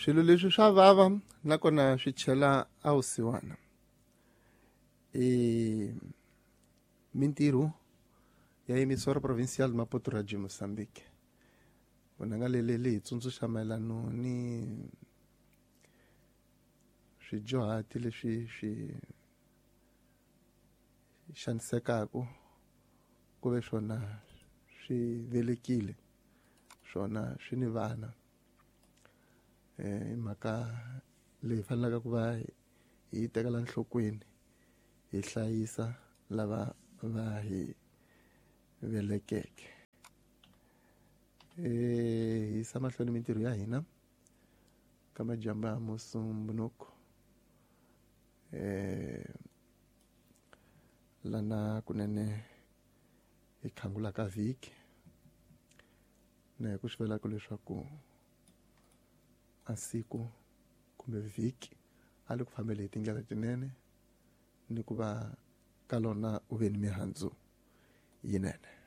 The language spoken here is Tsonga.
Swilo leswi swa vava nakona swi chela a vusiwana. I mintirho ya Emissora Provincial Maputo Radio Mozambique. Vunanga leli hi tsundzuxa mayelano ni swidyuhati leswi swi xanisekaka ku ve swona swi velekile swona swi ni vana. I mhaka leyi faneleke ku va hi yi tekela enhlokweni hi hlayisa lava va hi velekeke. Hi yisa mahlweni mintirho ya hina ka madyambu ya Musumbhunuku. Lana kunene hi khangulaka vhiki na hi ku swi vulaka leswaku a siku kumbe vhiki a li ku fambele hi tindlela tinene ni ku va ka lona u ve ni mihandzu yinene.